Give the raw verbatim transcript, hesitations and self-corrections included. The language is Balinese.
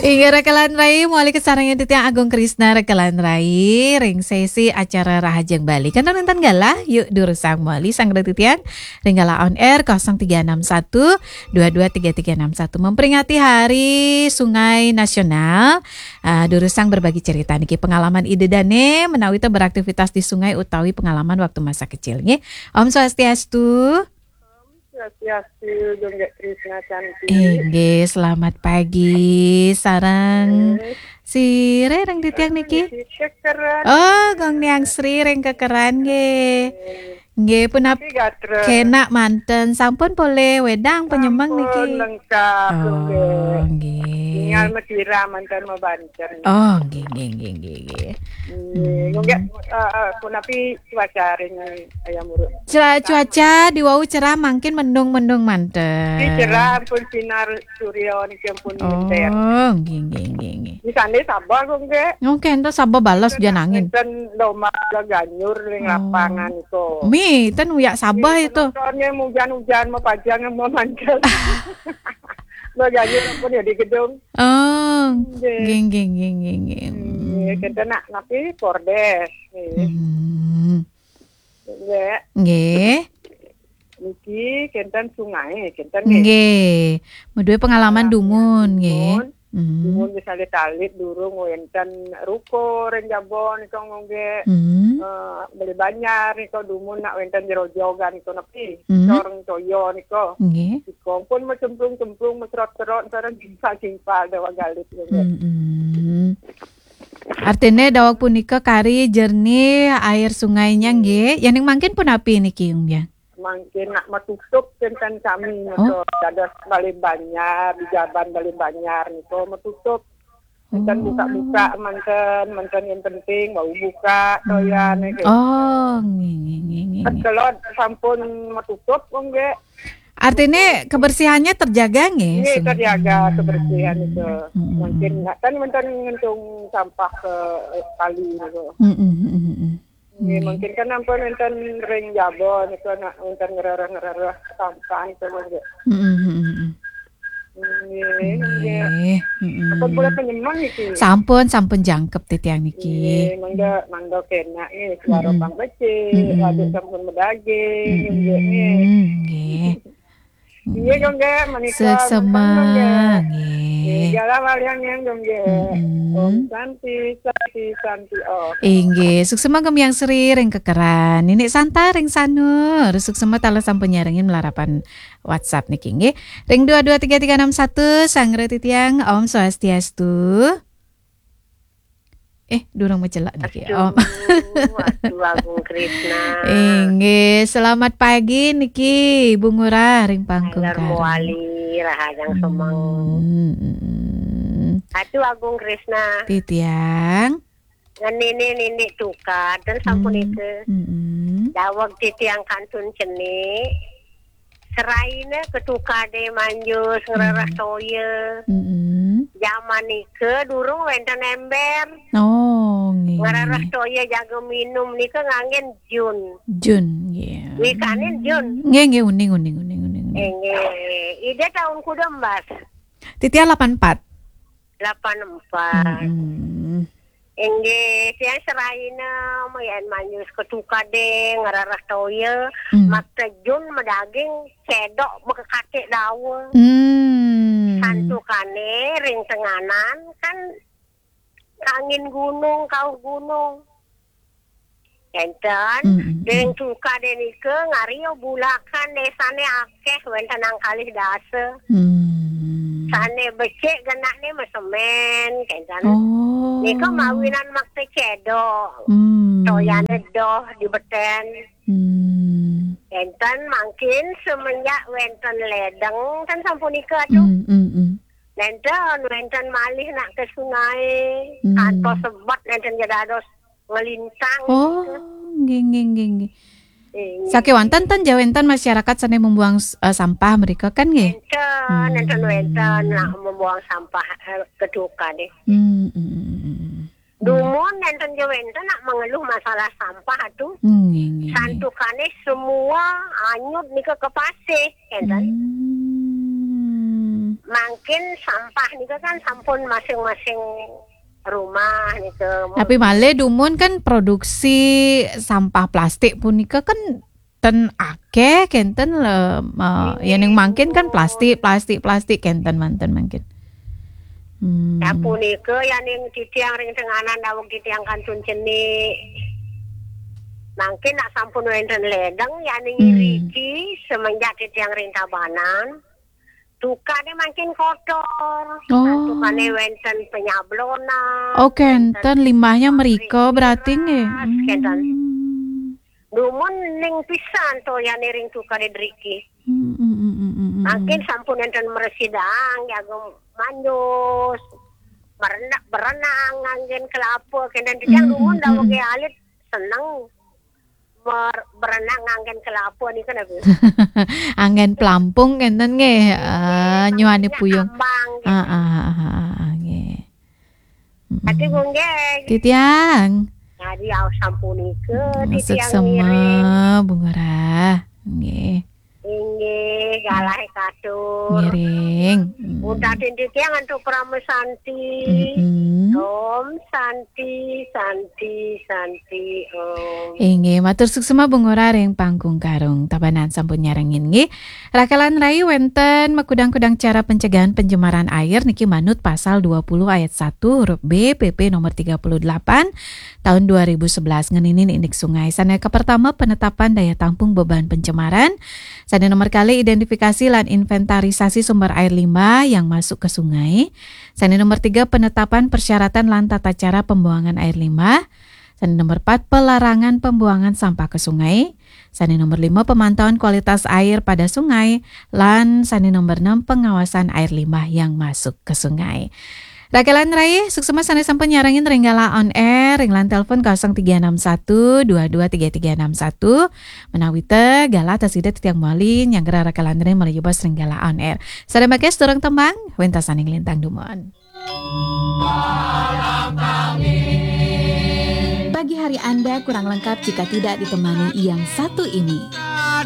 Inggih rekan rai, mawali kasarengin titiang Agung Krisna rekan rai ring sesi acara Rahajeng Bali. Kenten wenten galah, yuk durusang mawali sang titiang ring galah on air kosong tiga enam satu dua dua tiga tiga enam satu. Memperingati Hari Sungai Nasional, ah, durusang berbagi cerita niki pengalaman Ida Dane menawi ta beraktivitas di sungai utawi pengalaman waktu masa kecil nggih. Om Swastiastu. Swastiastu, Gung Krisna Cantik. Inggih, selamat pagi. Sareng sira ring titiang niki? Sri Kekeran. Oh, Gung Niang Sri ring Kekeran nggih. Nggih, punapi gatra? Kenak manten, sampun polih wedang penyemeng niki? Sampun lengkap, oh, nggih. Nggih. Tinggal masira manten mabanten. Oh, nggih, nggih, nggih, nggih, nggih. Hmm, nggih, eh, eh, punapi cuaca ring Ayam Uruk? Cua-, cuaca di wau cerah, mangkin mendung-mendung manten. Di cerah ampun sinar surya niki ampun ngenter. Oh, nggih, nggih, nggih, nggih. Di sana sabah kok nggih. Oke, ento sabah balas hujan angin. Enten domba ganyur ring lapangan itu. Mi, ten uyak sabah itu. Penontonnya hujan-hujan mau pajang mau mantel. Ganyur ampun ya di gedung. Oh, nggih, nggih, nggih, nggih, nggih. Nggih, kita nak napi kordes. Nggih. Hmm. Nggih. Nggih. Niki kenten sungai, kenten nggih. Nggih. Madue pengalaman dumun, nggih. Dumun. Hmm. Dumun misalnya talit durung wenten ruko ring jaba nika nggih. Hmm. Eh, beli banjar nika dumun nak wenten jerojogan nika napi. Hmm. Coreng toya nika. Nggih. Nika pun macemplung-cemplung, macerot-cerot, sareng jingkal-jingkal daweg alit nggih. Hmm, hmm. Artine daweg punika kari jernih air sungainya nggih. Yaning mangkin punapi niki, Gung Biang? Mangkin nak matutup kenten sami, oh, maka dados Bale Banjar, di jaban Bale Banjar nika matutup. Enten buka-buka manten, manten yang penting bau buka, toyan nggih. Oh, nggih, nggih, nggih, nggih, nggih. Kelod sampun matutup, nggih. Artine kebersihannya terjaga nggih? Nggih, terjaga kebersihan itu. Hmm. Mungkin kan manten ngentung sampah ke kali niku. Hmm, hmm, hmm, hmm. Nggih, mungkin kan ampun wenten ring jaba niku nak wenten ngrereh-ngrereh sampah itu nggih. Hmm, hmm, hmm, hmm. Nggih, nggih. Nggih, hmm. Ampun pula penyemang niki. Sampun, sampun jangkep titiang niki. Nggih, mangga, mangga kenak nggih, suara pang becik, waduk sampun medaging, nggih, nggih. Nggih. Nggih, Gung nggih, menika suksema, nggih. Nggih, jalan walian yang Gung nggih. Mm-mm. Om Santi, Santi, Santi Om. Inggih, suksema Gung Biang Sri ring Kekeran. Nini Santa ring Sanur, suksema taler sampun nyarengin malarapan WhatsApp niki nggih. Ring dua dua tiga tiga enam satu, sang titiang, Om Swastiastu. Eh, durung macelak niki. Astu, Om. Astu Agung Krisna. Inggih, selamat pagi niki, Ibu Ngurah ring Pangkung Karang. Mawali, rahajeng semeng. Hmm. Astu Agung Krisna. Titiang. Ngan nini-nini tukad, ten sampun nika. Hmm. Daweg titiang kantun cenik. Seraina ketukade manjus ngrereh toya. Mm-mm. Jaman nika durung wenten ember. Oh, nggih. Ngrereh toya jaga minum nika nganggen jun. Jun, nggih. Wikanin jun. Nggih, nggih, uning, uning, uning, uning, uning. Eh, nggih. Ida taun kuda embas? Titiang lapan empat. Lapan empat. Mm-mm. Inggih, tiang seraina mayan manjus ketukade ngrereh toya, hmm, mak tejun madaging cedok makekatik dawa. Hmm. Santukane ring tenganan kan angin gunung, kauh gunung. Enten, mm, mm, ring tukade nika ngario bulakan desane akeh wenten nang kalih dasa. Hmm. Sane becik genahne masemen, kenten. Oh. Nika mawinan makta cedok. Hmm. Toyane doh di beten. Hmm. Enten mangkin semenjak wenten ledeng, kan sampun nika tuh. Hmm, hmm, hmm. Nenten, wenten malih nak ke sungai, hmm, kantos sebet nenten ja dados ngelintang. Oh, gitu. Nggih, nggih, nggih, nggih. Nggih. Sakewanten ten ja wenten masyarakat sane membuang s-, eh, sampah mereka kan nggih? Enten, hmm, enten wenten nak membuang sampah, eh, keduka deh. Hmm, hmm, hmm, hmm, hmm. Dumun enten ja wenten nak mengeluh masalah sampah tuh. Hmm, nggih, nggih, nggih. Santukane semua anyut nika ke pasih, enten. Hmm. Mangkin sampah nika kan sampun masing-masing rumah nika. Tapi malih dumun kan produksi sampah plastik punika kan ten akeh kenten le, eh, ya ning mangkin kan plastik, plastik, plastik kenten manten mangkin. Hmm. Sapunika ya ning titiang ring tenganan daweg titiang kantun cenik. Mangkin nak sampun wenten ledeng ya ning Hmm. Riki semenjak titiang ring Tabanan. Tukane mangkin kotor. Oh. Tukane wenten penyablonan. Oh, kenten limbahnya merika berarti nggih. Kenten. Hmm. Dumun ning pisan to ya ring tukane driki. Hmm, hmm, hmm, hmm, hmm, hmm. Mangkin sampun enten meresidang, jaga manjus, merenak, berenang nganggen kelapa, kenten titiang Hmm, dumun hmm, daweg hmm. Alit seneng mer-, berenang nganggen kelapa nika napi. Anggen pelampung kenten nggih. Nggih, eh, nyuani puyung. Ambang, gitu. Ah, ah, ah, ah, ah, nggih. Mm-mm. Ati nggih. Titiang. Jadi aos sapunika, titiang suksema, ngiring. Bu Ngurah. Nggih. Inggih, galah katur. Ngiring. Mm. Untat titiang antuk Parama Santi. Mm-mm. Om Santi, Santi, Santi, Om. Inggih, matur suksema Bu Ngurah ring Panggung Karung. Tabanan sampun nyarengin nggih. Rakelan rai wenten makudang-kudang cara pencegahan pencemaran air niki manut pasal dua puluh ayat satu huruf B P P nomor tiga puluh delapan tahun dua ribu sebelas ngeninin indik sungai. Sane kapertama penetapan daya tampung beban pencemaran. Sane nomor kali identifikasi lan inventarisasi sumber air limbah yang masuk ke sungai. Sane nomor tiga penetapan persyaratan lan tata cara pembuangan air limbah. Sane nomor empat pelarangan pembuangan sampah ke sungai. Sane nomor lima pemantauan kualitas air pada sungai. Lan sane nomor enam pengawasan air limbah yang masuk ke sungai. Rakelan rai, suksema sane sampun nyarengin ring galah on air, ring line telepon kosong tiga enam satu dua dua tiga tiga enam satu. Menawi te galah tasida titiang mawali nyanggra rakelan rai malih jebos ring galah on air. Sane mangkin durung tembang, wentasaning lintang dumun. Pagi hari Anda kurang lengkap jika tidak ditemani yang satu ini.